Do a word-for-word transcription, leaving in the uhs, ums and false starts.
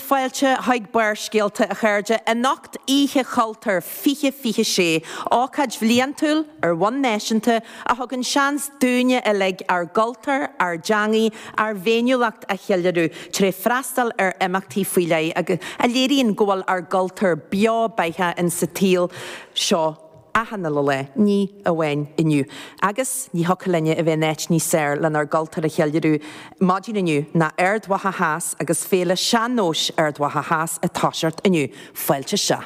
Fáilte chuig Barrscéalta, a chairde. Anocht, Oíche Chultúir fiche fiche sé, ócáid bhliantúil ar bhonn náisiúnta a thugann seans dúinne uilig ár gcultúr, ár dteangaí, ár bhféiniúlacht a cheiliúradh tré freastal ar imeachtaí faoi leith agus a léiríonn go bhfuil ár gcultúr beo beathach in sa tsaol seo achan uile lá, ní amháin inniu. Agus ní thiocfadh linne a bheith in áit níos fearr lenár gcultúr a cheiliúradh maidin inniu ná Ard Mhacha Theas agus Féile Sean-Nóis Ard Mhacha Theas ag toiseacht inniu. Fáilte seo.